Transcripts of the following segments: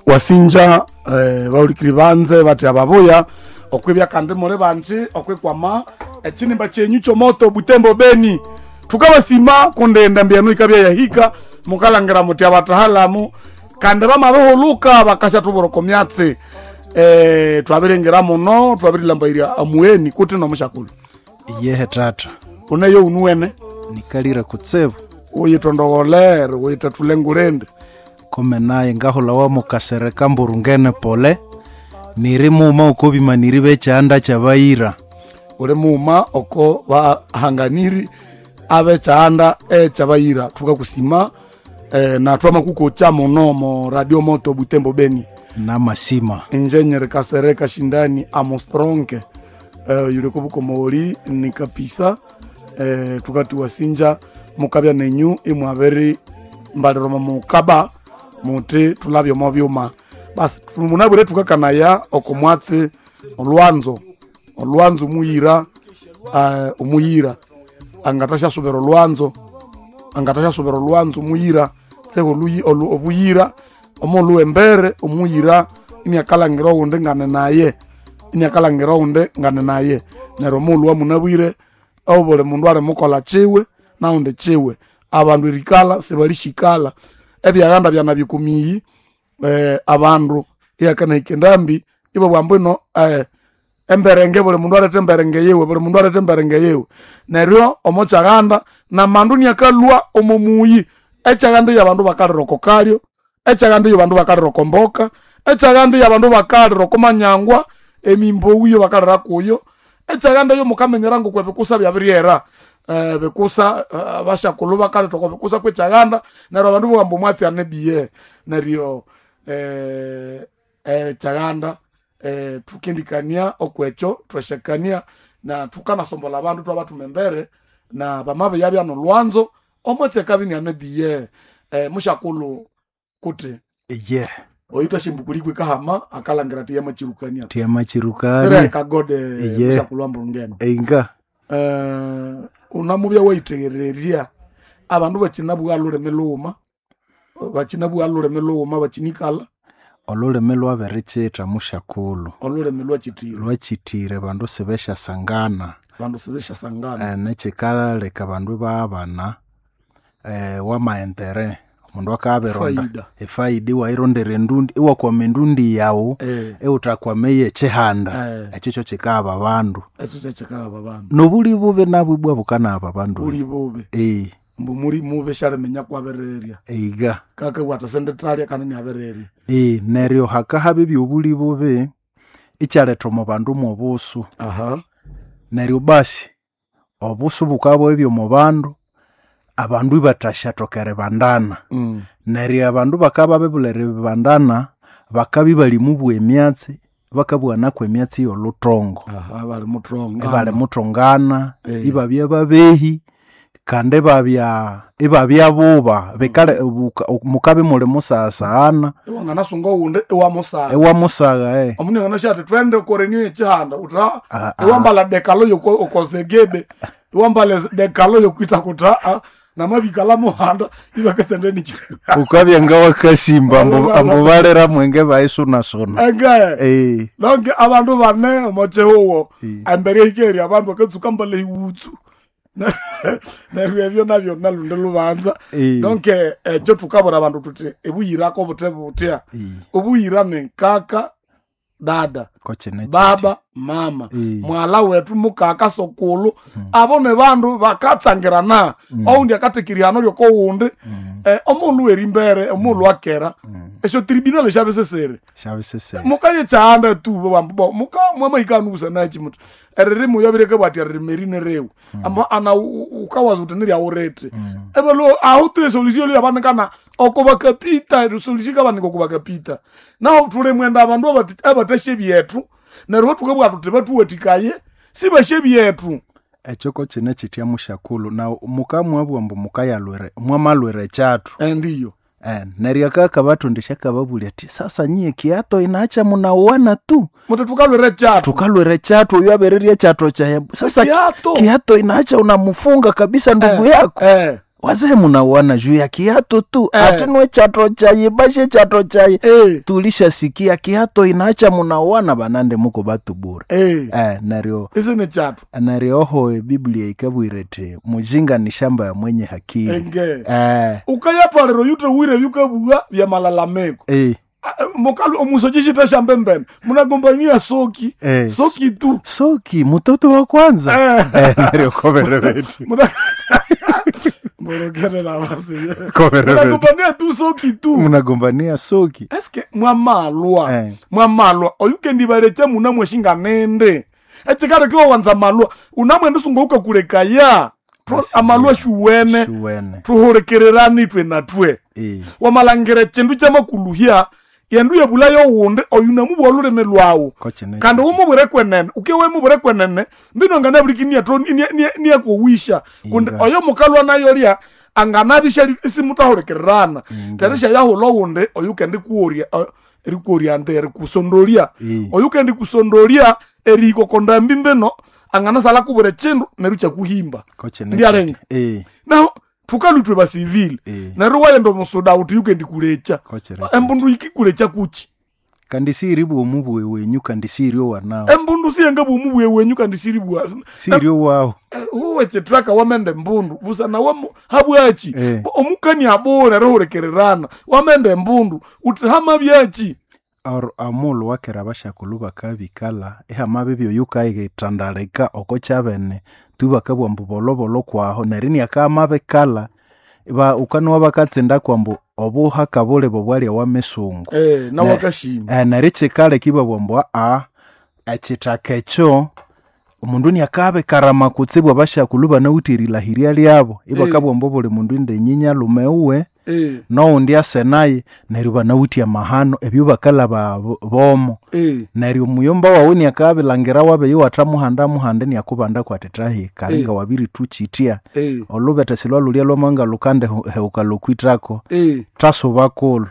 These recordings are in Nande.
Wasinja baulikiri banze bati ababuya okwibya kandi muli banji okwikwama ekinimba kyenyu kyomoto Butembo Beni. Tukabasima kundi endambi yenu ikabya yahika, mukalangira muti abatahalamu kandi bamabihuluka bakasyathubura oko myatsi. Twabiringira muno, twabirilhambairya amugheni kuti nomusyakulu. Yehe tata. Uneyo unuwene. Nikalira kutsibu. Uyitondogholere, uyithathule ngulindi. Kome naye ngahulawa mukasereka mburungene pole niri muma oko bimaniri bekyanda kyabayira. Uli muma oko bahanganiri abekyanda ekyabayira. Thukakusima na twamakukocha muno mo Radio Moto Butembo Beni. Namasima. Inje nyeri Kasereka Shindani Amostronke yuli kubukomoli ni kapisa tukati wasinja mukabya nenyu imwabiri mbaliroma mukaba muti tulabya omo byuma. Basi munabwire tukakanaya oko mwatsi olwanzo, olwanzo muyira, omuyira angathasyasobera olwanzo, angathasyasobera olwanzo muyira tseho obuyira omulhu embere omuyira iniakalangira owundi ngane naye, iniakalangira owundi ngane naye. Neryo omulhu wamunabwire obuli mundu alimukolha kiwe nawundi kiwe. Abandu erikalha sibalishikala ebyaghanda byanabya okomiyi, abandu iyakanahika endambi ibabugha ambu ino emberenge buli mundu alethe emberenge yiwe, buli mundu alethe emberenge yiwe. Neryo omo kyaghanda namandu iniakalhwa omo muyi. Ekyaghanda iyo abandu bakalira oko kalyo, ekyaghanda iyo abandu bakalira oko mboka, ekyaghanda iyo abandu bakalira oko manyangwa, emimbowu iyo bakalira kuyo. Ekyaghanda iyo mukamenyera ngoko ebikusa byabiryera, bikusa abasyakulhu bakaletha oko bikusa kwekyaghanda. Neryo abandu bowa ambu omwatsi ane biye. Neryo ekyaghanda thukendikania okwekyo, thwasyakania na thukanasombolha abandu thwabathuma embere na bamabiyabya nolwanzo omwatsi akabya iniane biye. Musyakulhu kuti Ye. oyuthasya kahama akalangira athi yamakyirukania. Thiyamakyirukania. Sireka gode. Ye. Musyakulhu ambulungene. Einga. Unamubya wayithegererya abandu bakinabugha lhulimi lhughuma, bakinabugha lhulimi lhughuma bakinikalha. Olhulimi lwabirikyitha musyakulhu. Olhulimi lwakyithire. Lwakyithire abandu sibesyasangana. Abandu sibesyasangana. Nekyikaleka abandu ibabana wamaentere omundu akabironda Faida. efaida iwayirondera endundi iwakwama endundi yawu iwuthakwama eyekyihanda. Ekyo kyokyikahaba abandu. Ekyo kyekyikahaba abandu. Nobuli bubi nabwo ibwa bukanahaba abandu. Buli bubi. Mbu muli mubi syaliminya kwabirirya. Eiga. Kakabugha athi sindithalya kandi iniabirirya. Neryo hakahaba ebyobuli bubi ikyaletha omo bandu mwobusu. Neryo basi obusu bukabya omo bandu, abandu ibathasyathoka eribandana. Neryo abandu bakabya babiribulha eribandana, bakabya ibali mubugha emyatsi, bakabugha emyatsi eyolhuthongo. Ibalimuthongana. Ibalimuthongana, ibabya babehi kandi ibabya ibabya buba. Bikale mukabya imuli musaghasaghana. Iwanganasunga owundi iwamusagha. Iwamusagha. Omundu anganasya athi thwende okorenio yekyihanda wuthi iwambalha dekalo yokozegebe, iwambalha dekalo yokwitha kuthi namabikalha muhanda ibakasenda nikyi. Wukabya ngawakasimba ambu ambu balira mwenge bayisunasuna. Enge. Donc abandu bane omo kyihugho embere ehikere abandu bakatsuka mbalha ehiwutsu. Neryo ebyo nabyo nalundi lubanza. Donc ekyo thukabwira abandu thuthi ebuyirako buthe buthya. Obuyira ni kaka, dada, Kokyine baba, mama, mwalha wethu, mukaka, sokulhu. Abo ni bandu bakatsangirana. Owundi akatheka erihano lyokowundi, omughulhu werimbere, omughulhu akera, esyo tribunal syabisisire. Syabisisire. Mukaya ekyahanda tu babugha ambu muka mwamahika hanu busanaki muthi eririmi oyo abireke bwati eririmi eri niriwe. Ambu ana wukawaza wuthi niryawurithi. Ibalhwa ahu tu esolution yabanikana oko bakapita, esolution yikabanika oko bakapita. Nahu thulimwenda abandu abathasya ebyethu neryo bathukabugha thuthi bathuwathikaye sibasya ebyethu. Ekyo kokyine kyithya musyakulhu nawu mukamwabugha ambu mukayalhwira mwamalhwira ekyathu. Endiyo. Neryo akakabathondesya akababulya athi sasa nyiye kiato inaacha munauana tu. Muthi thukalhwira ekyathu. Thukalhwira ekyathu oyu abirirya ekyathu kyaye. Sasa Kiato. kiato inaacha unamufunga kabisa ndugu yako. Wazee munauana juu ya kiato tu. Eh. Ati nwe chato chayi bashe chato chayi. Eh. Tulishasikia kiato inaacha munauana banande muko batu bure. Eh. Neryo Isi ni chato. neryo oho ebiblia ikabwira iti mujinga ni shamba ya mwenye hakili. Enge. Ukayatwalira yute wire byukabugha bya malalamiko. Mukalu omusoji shamba mbene. Munagombania soki. Eh. Soki tu. Soki mtoto wa kwanza. Neryo kobere betu. Mborokere na basi. Kobere betu. Munagombania tu soki tu. Munagombania soki. Eske mwamalwa. Mwamalwa oyukendi balecha munamweshinga nende. Echikare kiwa wanza malwa unamwenda sunga ukakulekaya. Amalwa shuwene. Shuwene. Tuhurekererani twe na twe. Wamalangire chindu chamakuluhya yendu yebulayo wundi oyunamu olulimi lwawu kandi umubwire kwenene uke wemubwire kwenene mbino nganabulikinia niyakuwisha kundi oyo mukalwa nayo lya anganabisha isimutahulikirana terisha yahula wundi oyu kendi kuorya erikuorya nte erikusondolia oyu kendi kusondolia erihikokonda mbi mbino anganasala kubwira chindu neru kyakuhimba ndiarenga naho thukalutwe basivile neryo wayenda omusuda uthi yukendi kulecha embundu ikikulecha kuchi kandi siiri bwomubwe wenyu kandi siiri owanawo embundu siyenga bwomubwe wenyu kandi siiri bwa siiri owawo uwe chitraka wamenda embundu busana wamu habwachi omukani abore rihurekererana wamenda embundu uthi hamabyachi Or amulu wakera abashakulu bakabikala ihamabi byoyu kayitandalika oko kyabene tu bakabugha ambu bolobolo kwaho neryo iniakamabikala ba ukanowa bakatsinda kwambu obuhaka bulibo bwalya wa misungu na wakashima neryo kyikaleka ibabugha ambu aa ekithaka ekyo omundu iniakabikarama kutsibu abashakulu banawithe erilahirya lyabo ibakabugha ambu obuli mundu indi nyinyalume uwe nowundi ase naye neryo banawithe amahano ebyo bakalaba bomo neryo omuyomba wawu iniakabilhangira wabe iwathamuhanda muhanda iniakubanda kwati thahi kalinga wabirithukyitya olubethe silwalulya lwamanga lukande heuka lokwithako thasuba kulhu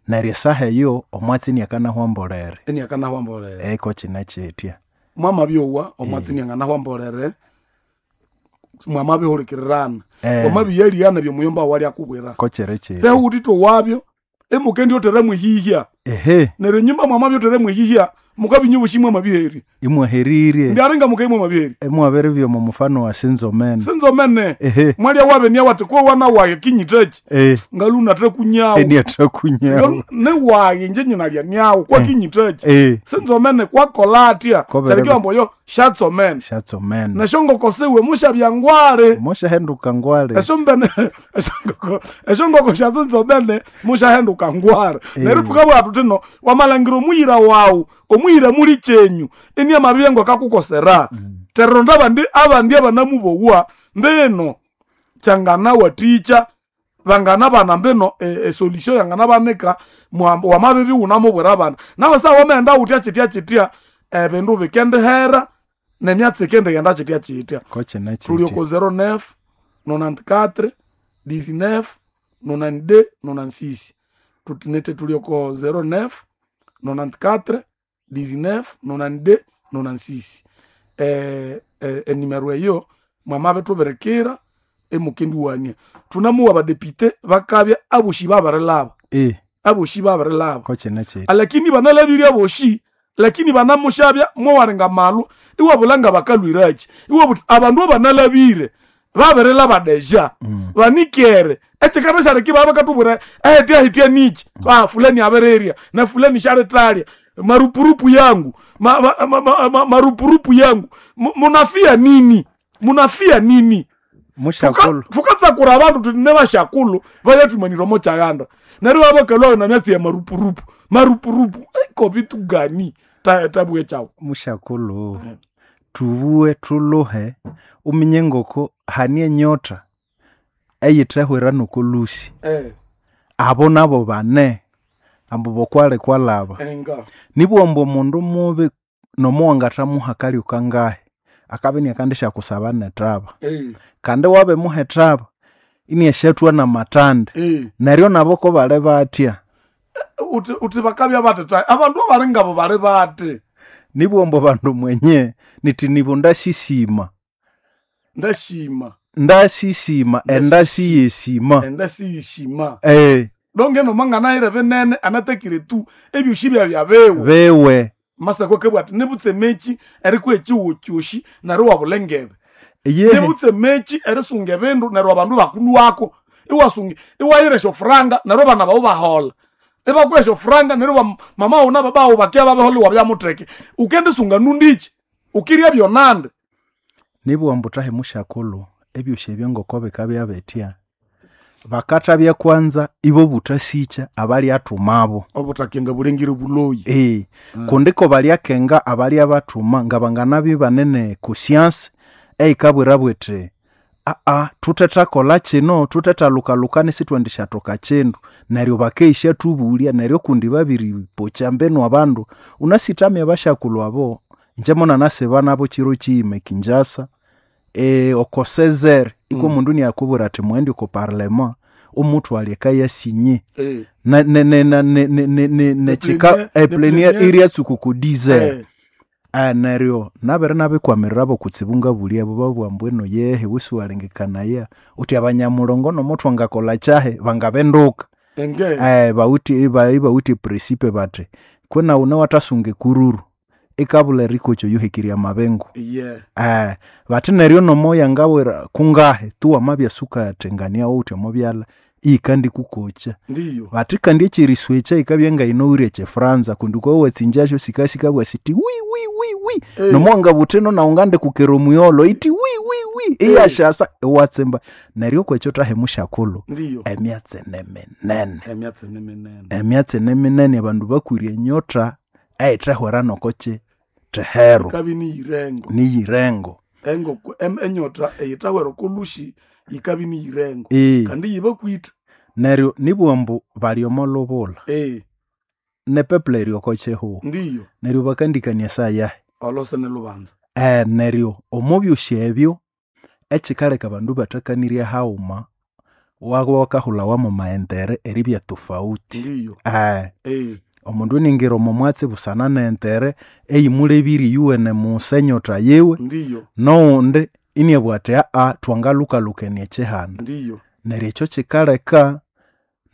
neryo esaha eyo omwatsi iniakanahwa mbolere iniakanahwa mbolere eko kine kyitya mwamabyowa omwatsi inianganahwa mbolere mwamabihulikirana wamabiyaliyana byomuyomba walyakubwira kokyere kyitya sehutitwe wabyo emukendi otere mwihihya ehe neryo nyumba mwamabya otere mwihihya mukabinyu bushi mwamabiheri imwaherire ndiaringa mukaimwe mwabiheri imwabere byomo mufano wa sinzomene sinzomene ehe mwalya wabe niya wati ko wana waye kinyitechi ngaluna tre kunyawo eniatra kunyawo ne waye nje nyinalya nyawo kwa kinyitechi sinzomene kwakola atya kyalikiwa mboyo shatsomene shatsomene neshongoko siwe mushabya ngwale mushahenduka ngwale eshombene eshongoko sha sinzomene mushahenduka ngwale neryo tukabugha tutino wamalangira omuyira wawu omuyira muli chenyu ini amabiyengo akakukosera teronda abandi abandi abanamubowa mbino kyangana waticha bangana bana mbino esolution yangana banika wamabibi wunamubwira abana nawe sawa wamaghenda wutya kyitya kyitya ebindu bikendihera nemyatsi ikendighenda kyitya kyitya tuli oko 09 94 19 92 96 tutinete tuli oko 09 94 19 92 96 enimero eyo mwamabe tubirikira emukendiwania tunamuwa badepite bakabya aboshi babarilaba aboshi babarilaba lakini banalabirye aboshi lakini banamushabya mwawaringa malwa iwabulanga bakalwirachi iwabuti abandu abanalabire babirilaba deja banikere echikana shariki baba bakatubwira ehitya hitya nichi ba fulani abirirya na fulani sharitalya marupurupu yangu marupurupu yangu munafia nini munafia nini tukatsakura abandu tuti ne bashakulu bayathumanira chaganda neryo babakalwayo na myatsi ya marupurupu marupurupu kobi tugani tabwe chawo mushakulu tubuwe tuluhe uminye ngoko hani enyota eyithehwera nokolusi abo nabo bane ambu bokwale kwalaba nibwomba omundu mubi nomuwangathamuha kalyo kangahi akabya iniakandisyakusaba nethaba kandi wabimuha ethaba iniasyathwa namatande neryo nabo kobali batya uthi bakabya bathi abandu abali ngabo bali bathi nibwomba bandu mwenye nithi nibo ndasisima ndashima Ndasisima endasi yesima. Endasi yeshima. Donge nomanganaire binene anatakire tu ebyoshi byabya bewe. Bewe. Masako kebwa ati nibutse mechi eriko ekiwo kyoshi neryo wabulengebe. Nibutse mechi erisunga ebindu neryo abandu bakulwako. Iwasunga iwayira esyo franga neryo abana babo bahola. Ibakuha esyo franga neryo mama wawu na baba wawu bakia babehola iwabya mutheke. Ukendisunga nundichi? Ukirya byonande. Nibugha ambu thahe musyakulhu ebyosi ebyo ngoko bikabya bithya, bakathabya kwanza ibo buthasikya abalyathumabo. Obuthakenga bulengire buloyi. Kundi ko balyakenga abalyabathuma ngabanganabya ibane ne conscience eyikabwira bwiti aa thuthethakolha kino, thuthethalukalukana isithwendishathoka kindu, neryo bakeyisyathubulya neryo kundi babiripokya mbinu abandu. Unasithamya abasyakulhu abo, ingye munanasiba nabo kiro kiyima ekinjasa, oko sezere iko omundu inakubwira athi mughende oko parlement omuthwalya ekayasinye epleniere iryatsuka oko 10h. Neryo nabere nabikwamirira kutsibu ngabulya abo babugha ambu eno yehe iwe siwalengekanaya wuthi abanyamulongo nomo thwangakolha kyahi bangabinduka. Bawithe ibawithe eprincipe bathi kwina wune wathasunga ekururu ikabulha erikokya oyuhekirye amabingu. Bathi neryo nomo yangawira kungahi tu wamabya sukathengania wuthi omo byalha iyikandikukokya. Bathi kandi ekyeriswekya yikabya ngayinowire ekyifranza kundi wukabya watsingyasyo sikasikabugha sithi wi wi wi wi. Nomo wangabugha wuthi ino nawu ngandikukera omuyolho yithi wi wi wi iyasyasa iwatsimba. Neryo okwekyo thahi musyakulhu emyatsi niminene. Emyatsi niminene abandu bakwire enyotha eyithehwera nokokyi thehero. Niyirengo. Enyotha eyithahwera okolhusi yikabya iniyirengo. Kandi yibakwitha. Neryo nibugha ambu bali omo lhubulha. Ne peuple eri oko kihugho. Neryo bakandikania esaha yahi? Olhose nilhubanza. Neryo omo byosi ebyo ekikaleka abandu ibathakanirya haghuma wabya wakahulhawa mwa maentere eribya tofauti. Omundu iningira omo mwatsi busana nentere eyimulebire iyuwene musa enyotha yiwe, noghundi iniabugha athi aa thwangalhukalhukania ekihanda. Neryo ekyo kikaleka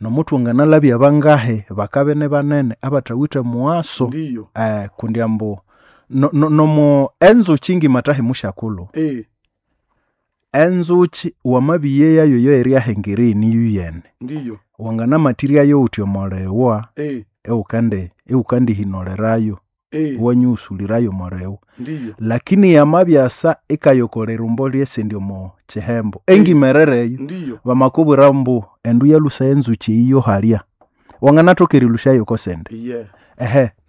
nomuthwanganalhabya bangahi bakabya inibanene abathawithe mughaso. Kundi ambu nomo enzukyi ngima thahi musyakulhu, enzukyi wamabiyeyayo eyo eryahengerya iniyuyene, wanganamathiryayo wuthi omolhiwa iwukandihinolerayo, iwanyighusulirayo omolhiwa. Lakini yamabyasa ikayokola erirumbo lyesindi omo kihembo, engimerere eyo, bamakubwira ambu endu yalhusa enzukyi eyi yohalya, wanganathoka erilhusyayo okosindi.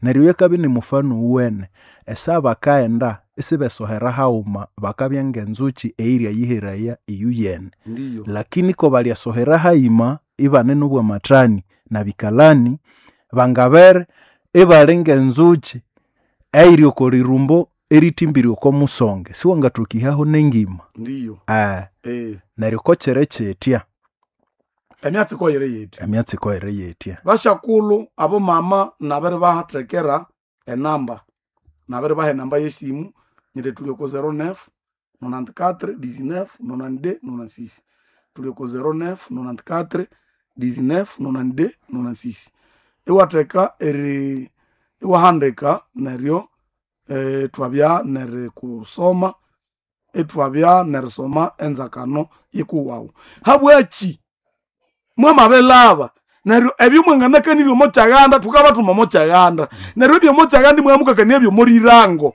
Neryo yakabya inimufano owuwene, esaha bakaghenda isibesohera haghuma bakabya ngenzukyi eyiryayiheraya iyuyene. Lakini ko balyasohera hayima ibane nobwamathani nabikalani, bangabere ibali ngenzukyi eyiri oko lirumbo erithimbire oko musonge, siwangathoka ihaho nengima. Neryo kokyiri kyithya. Emyatsi koyiri yithya. Emyatsi koyiri yithya. Basyakulhu abo mama nabiribathekera enamba, nabiribaha enamba yesimu nyiti thuli oko 09 94 19 92 96. Thuli oko 09 94 19 92 96. Iwatheka eri iwahandika neryo ithwabya nerikusoma, ithwabya nerisoma enzakano yikuwawu. Habwaki mwamabilhaba neryo ebyo mwanganakanirye omo kyaghanda thukabathuma omo kyaghanda. Neryo ebyomo kyaghanda imwamukakania ebyomorirango.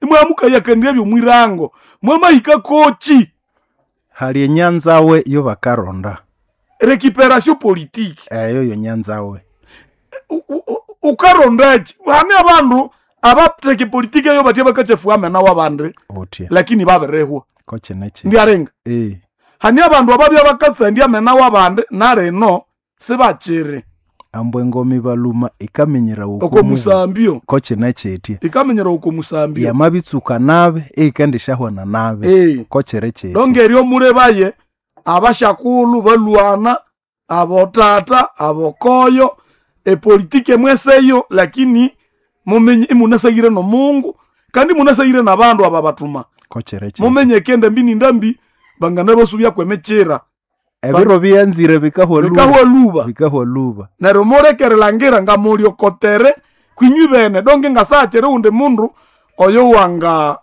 Imwamukayakanirya ebyomwirango. Mwamahika koki? Hali enyanzawe yobakaronda. Récupération politique. Eyo yonyanzawe. Ukarondaki? Hane abandu abatheka epolitiki eyo batya bakakyafugha amena wabandi. Lakini babirihwa. Kokyinekyi. Ndyaringa. Hane abandu ababya bakatsandya amena wabandi narino sibakyiri. Ambu engoma ibaluma ikaminyira oko musambyo. Kokyinekyithi. Ikaminyira oko musambyo. Yamabitsuka nabi eyikendishyahwana nabi. Kokyiri kyithi. Donge eryo mulebaye abasyakulhu balwana abotata abokoyo epolitiki emweseyo lakini mumenye imunasayire nomungu kandi munasayire nabandu aba bathuma. Kokyiri kyithi. Mumenye kende mbi nindambi. Bangana basubya kwemechira. Ebiro byanzire bikahwa luba. Bikahwa luba. Neryo murekerelangira nga muliokotere kwinywi bene donge ngasachere undi mundu oyo wanga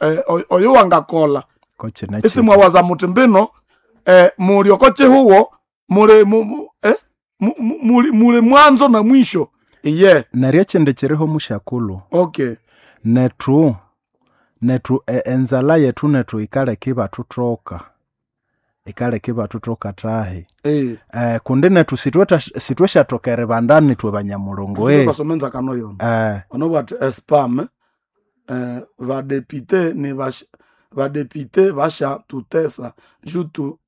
oyo wangakola. Ese mwawaza muti mbino muliokochehuwo mule mule mwanzo na mwisho. Iye. Neryo chende chereho mushakulu. Okay. Netu enzala yetu netu ikaleke batutoka. Ikaleke batutoka tahe. Kundi netu sitweshatokere bandani twe banyamulongo. Twasomenza kano yona. Ono bwati spam vadepite ni vadepite vasha tutesa jutu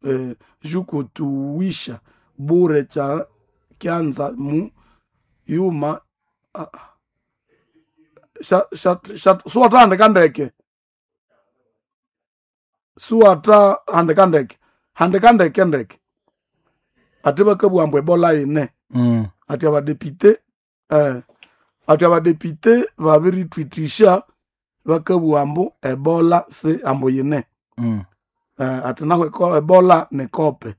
jukutuwisha bure cha kyanza mu yuma suwata handikandeke suwata handikandeke handikandeke ndeke ati bakabwambwa ebola ine. Ati abadepite ati abadepite babiritwitisha bakabwambu ebola si ambo yine. Ati naho ebola ni kope.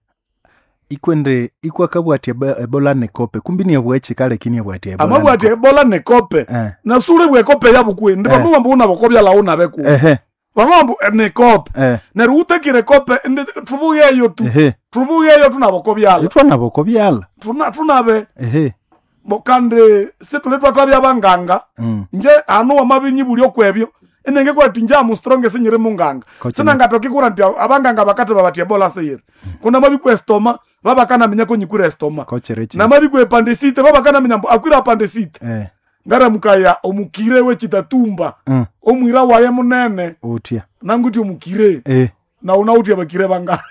Ikwende ikwakabwati ebola ni kope kumbi ni bwechi kale kini bwati ebola. Amabwati ebola ni kope. Na sule bwe kope yabukwe ndi bamwe una bokobya launa beku. Bamwe ni kope. Neru utekire kope ndi tubuyeyo tu. Tubuyeyo tunabokobyala. Itwa nabokobyala. Tunabe. Bokande situletwa twabya banganga. Nje anu wamabinyi buli okwebyo. Inenge kwa tinja mu strong senyere munganga. Sina ngatoki kura nti abanganga bakate babati ebola seyere. Kuna mabi estoma baba kana menya ko nyikura estoma. Na mabi ku appendicite baba kana menya akwira appendicite. Ngara mukaya omukire we chitatumba. Omwira waye munene. Utia. Nanguti omukire. Na unautia bakire banga.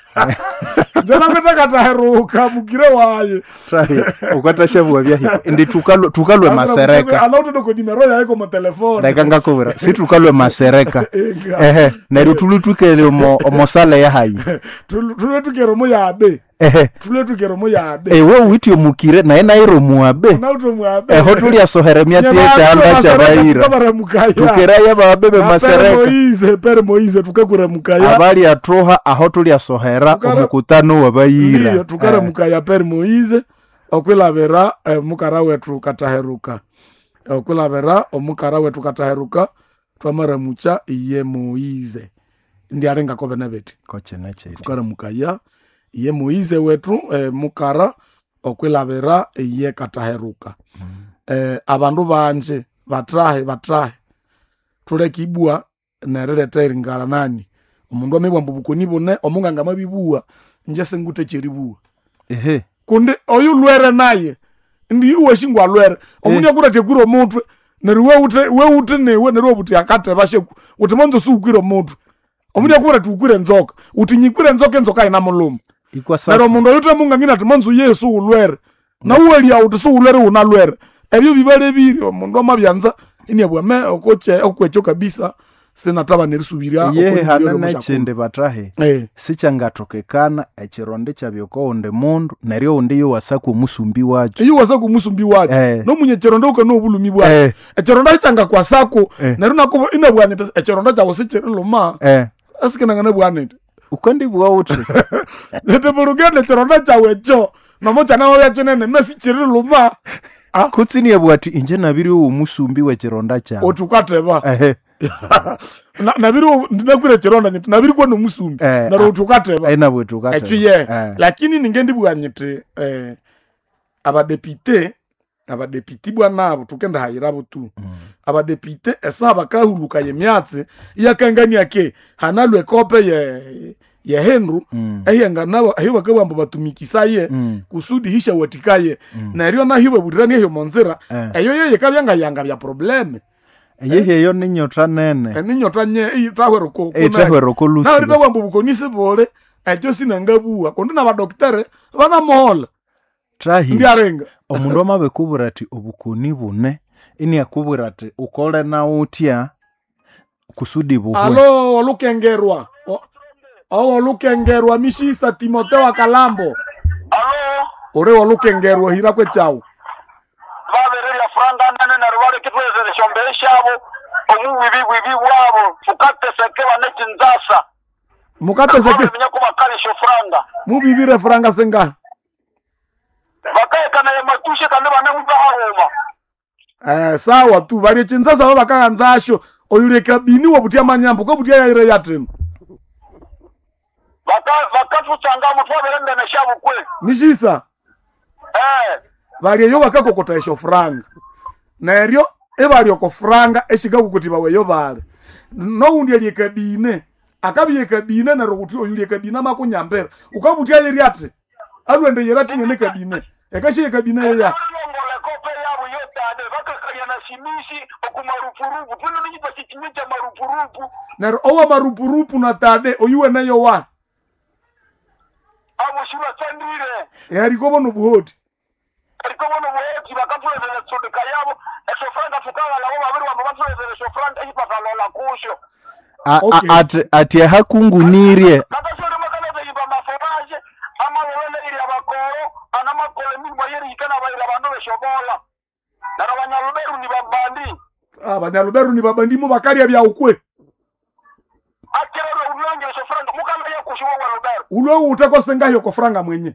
Njana ngataka mukire waye. Trahi ukatashavuwa bya hiko. Ndi tukalwe masereka. Alauto doko nimero yaye ko telefone. Ndaka ngakobera. Si tukalwe masereka. Neryo tulutukele omosale ya hayi. Tulutukere mo yabe. Tulutukere mo yabe. Ewe uiti omukire naye nairo muabe. Nauto muabe. Eho tulia sohere myatsi ekyanda kyabayira. Tukeraya babebe masereka. Pere Moize tukakura mukaya. Abali atoha aho tulia sohera omukutano wabayira. Ndiyo tukara mukaya Pere Moize okwilabera mukara wetu kataheruka. Okwilabera omukara wetu kataheruka twamara mucha iye Moize. Ndi arenga kobe nebeti. Koche neche. Tukara mukaya iye Moize wetu mukara okwilabera iye kataheruka. Abandu banje batrahe tulekibwa nereleta eringara nani omundu amebwa mbubukoni bune omunganga mabibuwa nje sengute cheribuwa. Kundi oyu lwere naye ndi uwe shingwa lwere omundu akura tekura omutwe neryo weute newe neryo obuti akate basheku uti monzo sukwira omutwe omundu akura tukwire nzoka uti nyikwire nzoka enzoka ina muluma. Neryo omundu oyute mungangina ati monzo Yesu ulwere na uwelia uti suulwere una lwere ebyo bibale biri omundu amabyanza inebwame okoche okwecho kabisa sinataba nerisubiria yehe hanene chinde batahe. Sichangatokekana echironde chabyoko onde mundu neryo onde yo wasaku omusumbi wacho iyo wasaku omusumbi wacho no munye chironde uko no obulumi bwacho echironde changa kwasako neryo nako inebwanye echironde chawo sichiriluma asikinangana bwanete ukondi bwa uti nete burugende chironde chawe cho nomo chana wabya chinene mesichiriluma kutsiniye bwati inje nabiri omusumbi wechironda chawe otukateba nabiri ndinakwira chironda nyiti nabiri kwa nomusumbi naro utukateba aina bwetukateba echiye lakini ningendi bwanyiti abadepite bwanabo tukenda hayirabo tu. Abadepite esa bakahuluka yemyatsi yakangania ke hanalwe kope ye Henru ehenga ayo bakabamba batumikisaye kusudi hisha watikaye neryo nahiwe budirani eyo monzira eyo yeye kabyanga yanga bya probleme eyehe eyo ninyota nene eninyota nye itahwero ko itahwero ko lusi na rita bwambo bukonisi bole ekyo sinangabuwa kundi nabadokitere banamuhola trahi ndiarenga omundu amabekubwira ati obukoni bune ini akubwira ati ukole na utya kusudi buhwe alo olukengerwa olukengerwa mishisa Timoteo Akalambo alo ore olukengerwa hira kwechawo babererya franga nene neryo balekitwezere esyombere syabo omuwibi bwibi bwabo tukateseke banechinzasa Mukateseke Minya kubakalisha franga. Mubibire franga senga. Bakayekana ya matushe kandi banemubahahuma. Sawa tu bali chinzasa baba kaganzasho oyule kabini wabutia manyambo ko butia yaire yatino. Bakafutsanga mutwabere ndene shabukwe. Nishisa. Bali eyo bakakokota esho franga. Neryo ebali oko franga eshikakukuti baweyo bale. Noundi ali kabine. Akabiye kabine neryo kuti oyule kabine makunyambera. Ukabutia yeri ati. Alwende yerati nene kabine. Ekashiye kabine yeya. Neryo owa marupurupu na tade oyuwe neyo wa. Abo shura tsandire. Yarikobo nobuhoti. Arikobo nobuhoti bakatulezera tsondeka yabo. Esofranga fukala labo babiri wabo batulezera esofranga ipatalola kusho. Okay. Ati hakungunirye. Kakasore makaleza iba maforaje amalolele iri abakoro anamakole mirimo yeri ikana bayira bandu beshobola. Naro banyaluberu ni babandi. Abanyaluberu ni babandi mu bakalya bya ukwe. Akirero ulonge esofranga mukala yakushiwa wa Luberu. Ulwe utako sengayo ko franga mwenye.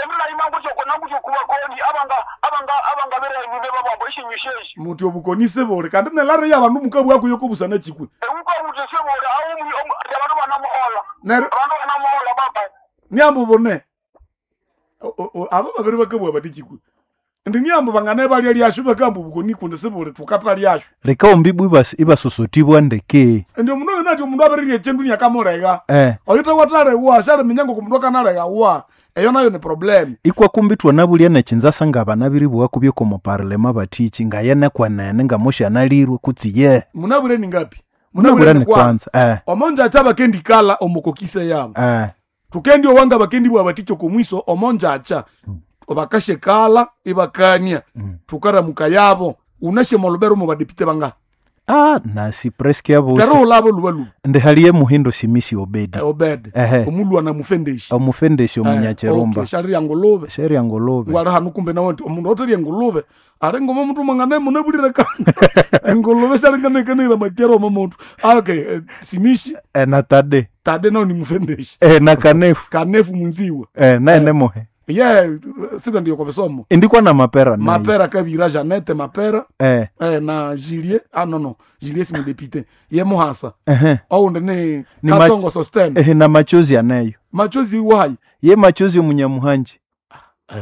Emila imangu choko nangu choko koni abanga bere nyume babambo ishinyisheshi. Muti obukonise bore kandi nelare yabandu mukabwa kuyokobusana chikwe. Uko utese bore awu abantu banamuhola. Nero abantu banamuhola baba. Nyambo bone. Abo babiri bakabwa bati chikwe. Ndi nyambo bangane bali lyashu bakambu bukoni kunde sebore tukata lyashu. Reka ombibu ibasosotibwa ndeke. Ndi omundu nati omundu abiri chendu nyakamurega. Oyita watale wa shale minyango kumundu kanalega wa. Eyo nayo ni problem. Ikwa kumbi twanabulya nechinzasa nga banabiri bwa kubyeko mu parlema batichi nga yene kwenene nga moshanalirwe kutsi ye. Munabure ni ngapi? Munabure ni kwanza. Omonja acha bakendi kala omukokise yabo. Tukendi owanga bakendi bwa baticho kumwiso omonja acha. Obakashe kala ibakania. Tukara mukayabo unashe molubero mu badepite banga. Nasi presque abo. Tero labo lubalu. Ndi haliye muhindo simisi Obedi. Obedi. Omulwa na mufendeshi. Omufendeshi omunyacherumba. Okay, shari ya ngulube. Shari ya ngulube. Ngwara hanu kumbe nawe nti omundu otari ngulube. Are ngoma mtu mangane munabulira kana. Ngulube shari ngane kana ila makero omuntu. Okay, simisi. Na tade. Tade nao ni mufendeshi. Na kanefu. Kanefu munziwa. Na enemohe. Ye, sita ndiyo kwa besomo. Indikwa na mapera. Mapera kabira Janete mapera. Na Julie. No. Julie si mudepite. Ye muhasa. Oundi ni Katsongo Sosten. Na machozi anayo. Machozi wayi. Ye machozi omunyamuhanji.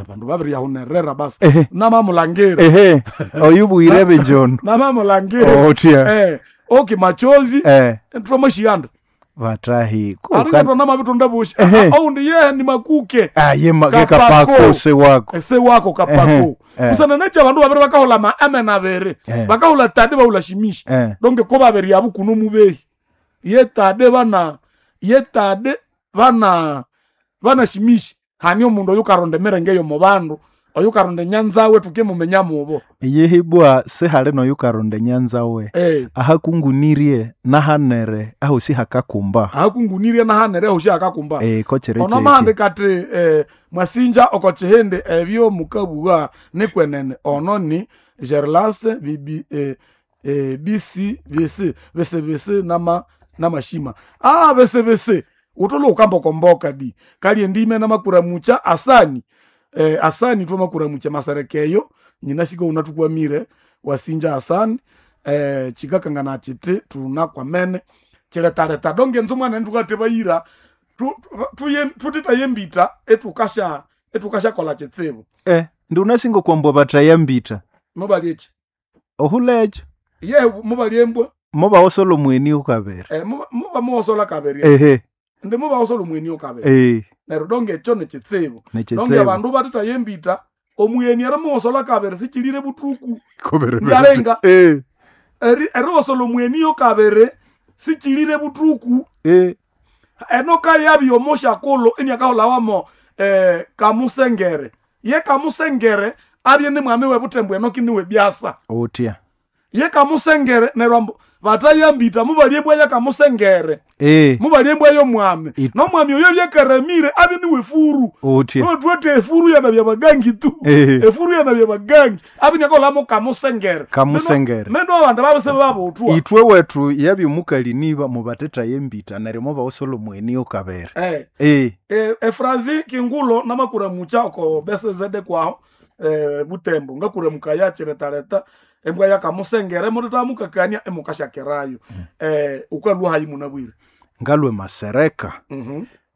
Bandu babiri yahunerera basi. Namamulangire. Oyubu irebe njono. Namamulangire. Otia. Okay, machozi. Tuamashianda. Vatahi aringatwa namavitonda bushi oundi ye ni makuke ye kapako se wako se wako kapako kusana necha bandu babiri bakahola maame nabere bakahola tade bahula shimishi donge ko babiri yabo kuno mubehi ye tade bana bana shimishi hani omundu oyu karonda emerenge yo mu bandu oyu karonda nyanzawe tuke mumenya mubo yehibwa sehale noyu karonda nyanzawe ahakungunirye nahanere aho si hakakumba ahakungunirye nahanere aho si hakakumba kochere ono mahande kati mwasinja okochihende ebyo mukabugha nikwenene ono ni gerlase bibi bc bc bc bc nama namashima bc bc utolo ukambokomboka di kali ndime namakura mucha asani asani twamakura mucha maserekeyo nyina shiko unatukwamire wasinja asani chikakangana chiti tunakwamene chiletaleta donge nzo mwana ntukatebayira tutitayembita etukasha kola chitsibu ndi unasingo kwambwa batayambita mubali echi ohulecho ye mubali embwa mubawosola omweni ukabere muba muwosola kabere ndi mubawosola omweni ukabere neryo donge ekyo nekitsibu donge abandu batitayembita omuyeni eri muwosola kabere sichilire butuku ndalenga eriwosola omweni yokabere sichilire butuku enoka yabi omoshakolo eniakaholawamo kamusengere ye kamusengere abye ni mwami webutembo enoki niwe byasa otia ye kamusengere neryo ambu Batayambita mubalye embwa yakamusengere. Mubalye embwa y'omwami. N'omwami oyo byakaramire abe niwe furu. Utye. Notwete efuru yana bya bagangi tu. Efuru yana bya bagangi. Abe nyakolamo kamusengere. Kamusengere. Mendo abandu babese babutwa. Itwe wetu yabyomukali niba mubatetaye embita neryo mubawusola omweni okabere. Efrazi kingulo namakuramucha oko besezede kwaho butembo ngakuramukaya chiretaleta embwa yakamusengere mutetamukakania emukashakerayo. Ukalwa hayi munabwire. Ngalwe masereka.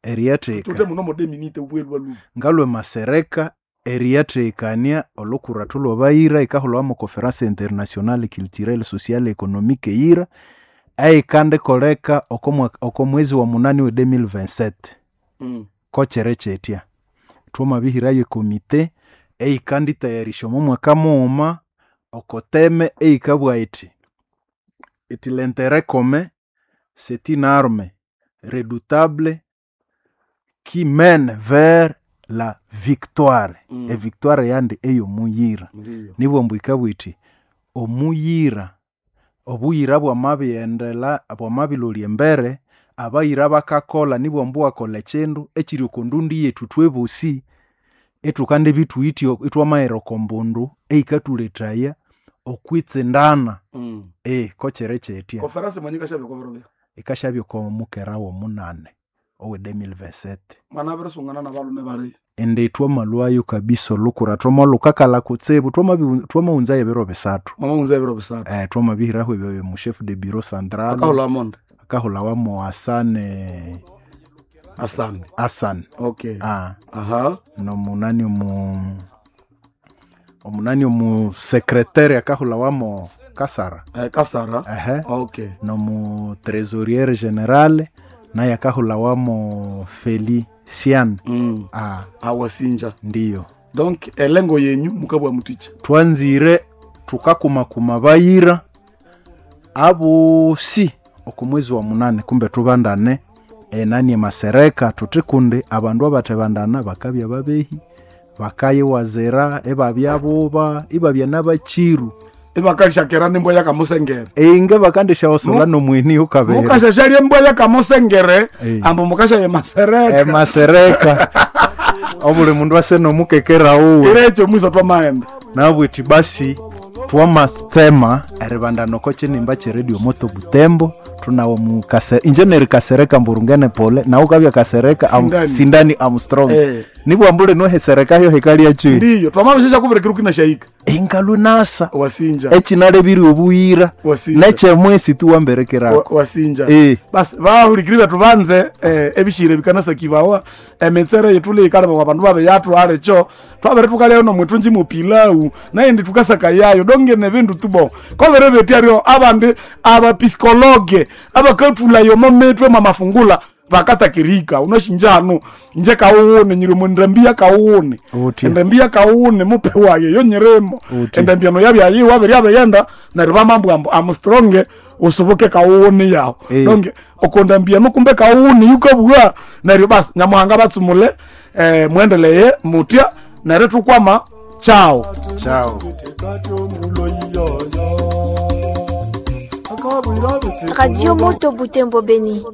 Eriyatheka. Tute muno modeminite ubwelwa lu. Ngalwe masereka eriyathekania olukurathu lwabayira ikahulwa mu Conference Internationale Culturelle Sociale Économique yira eikandikoleka oko mwezi wa 8 we 2027. Kochere chetya twamabihirayo ekomite eikanditayarisha omo mwaka mughuma okoteme eikabwa iti iti l'intérêt commun c'est une arme redoutable qui mène vers la victoire. Evictoire yandi ey'omuyira. Nibwo ikabwa iti omuyira obuyira bwamabiyendela bwamabilolya embere abayira bakakola nibwo wakola ekindu ekiri oko ndundi yethu twebosi etukande bithuityo itwamaghera oko mbundu eikathuletaya okwitsindana. Kokyere kyetya. Conference mwanyika shabya koberobya. Ikashabya oko mukera w'omunane owe 2027. Mwana abirisungana n'abalume bali. Indi twamalwayo kabisa olukura twamalukakalha kutsibu twamawunzayo ebiro bisathu. Mwamawunza ebiro bisathu. Twamabihiraho ebyo mu chef de bureau central. Akahulha monde. Akahulha wamo Asane. Asane. Asane. Okay. Aha. Nomunani omunani omu secrétaire akahulha wamo Kasara. Kasara. Okay. Nomu trésorier général naye akahulha wamo Felician. Awasinja. Ndiyo. Donc elengo yenyu mukabwa muticha. Twanzire tukakumakuma bayira abosi oku mwezi wa 8 kumbe tubandane enani emasereka tuti kundi abandu abatebandana bakabya babehi bakayiwazira ebabya buba ibabya n'abachiru Ibakashakera nembwa yakamusengere. Inge bakandishawasola nomweni ukabere. Mukashashalya embwa yakamusengere ambo mukasha ye masereka. Emasereka. Obuli mundu ase nomukekera uwe. Irecho mwiso twamaenda. Nabwiti basi twamatsema eribandana oko kinimba kye Radio Moto Butembo tunawo mu engineer Kasereka Mburungene pole nawe ukabya Kasereka Sindani Armstrong. Nibwo ambule nohesereka yo hekalia chui. Ndiyo twamabishesha kubirekera ukina shaika. Ingalunasa. Wasinja. Echinalebiri obuyira. Wasinja. Nechemwesi tu wamberekerako. Wasinja. Bas bahulikiri betu banze ebishire bikanasa kibawa emetsere yetule ikalaba abandu babe yathu alecho twabere tukalya no mwetunji mu pilau naye ndi tukasaka yayo donge ne bindu tubo kovere betyaryo abandi abapisikologe abakathula yomo metwe mamafungula vakatakirika unoshinjano nje kauwune nyiri mundambia kauwune endambia kauwune mupe waye yo nyirimo endambia no yabya yiwa biri yabeyenda neryo bamambwambo amstronge usubuke kauwune yawo donge okondambia nukumbe kauwune yukabwa neryo basi nyamuhanga batsumule mwendeleye mutya neryo tukwama chao chao. Radio Moto Butembo Beni.